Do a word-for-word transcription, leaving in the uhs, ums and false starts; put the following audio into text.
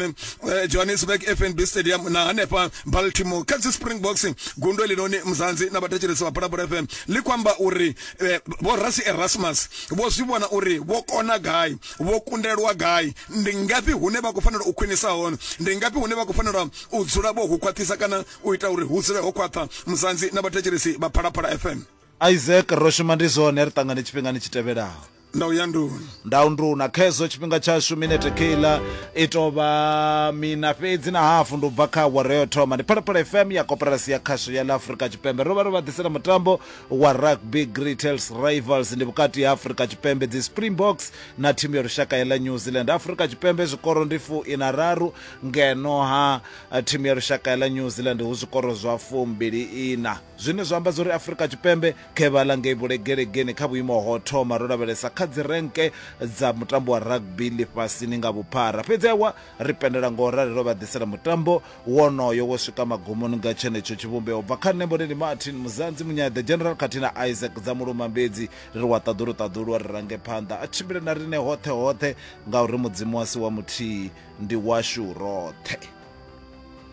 Eh, Johannesburg F N B Stadium na hanefha Baltimore kha dzi Springboks. Gundo ḽinoni Mzansi na vhathetshelesi vha Phalaphala F M ḽi khou amba uri eh, vho Rassie Erasmus vho zwi vhona uri vho kona gai, vho kundelwa gai, ndi ngafhi hune vha khou fanela u khwinisa hone, ndi ngafhi hune vha khou fanela u dzula vho hu khwaṱhisa kana u ita uri hu dzule ho khwaṱha. Mzansi na vhathetshelesi vha Phalaphala F M. Isaac, ro shuma ndi zwone, ri ṱangane tshifhingani tshi tevhelaho. Ndau ya nduna. Ndau nduna khezo tshifhinga tshashu minete keila i tovha mina fhedzi na hafu ndi ubva kha awara yo thoma. Ndi Phalaphala F M ya koporasi ya khasho ya ḽa Afrika Tshipembe. Ro vha ro vha ḓisela mutambo wa Rugby Greatest Rivals, ndi vhukati ha Afrika Tshipembe dzi Springboks na thimu ya lushaka ya ḽa New Zealand. Afrika Tshipembe zwikoro ndi fu ina raru, ngeno ha thimu ya lushaka ya ḽa New Zealand hu zwikoro zwa fumbili ina, zwine zwa amba zwa uri Afrika Tshipembe khevhala ngei vhulegelegeni kha vhuimo ho thoma ro lavhelesa kha dzi renke dza mutambo wa rugby ḽifhasini nga vhuphara. Fhedzi awa ri pendela ngo rali ro vha ḓisela mutambo wonoyo wo swika magumoni nga tshenetsho tshivhumbeo. Bva kha nṋe Mboneni Martin Muzanzi Munyaḓe General khathihi na Isaac dza Mulumambedzi, ri ri wa ṱaḓulu ṱaḓulu ri range phanḓa a tshimbile na riṋe hoṱhe hoṱhe, ngauri Mudzimu wasi wa muthihi ndi washu roṱhe.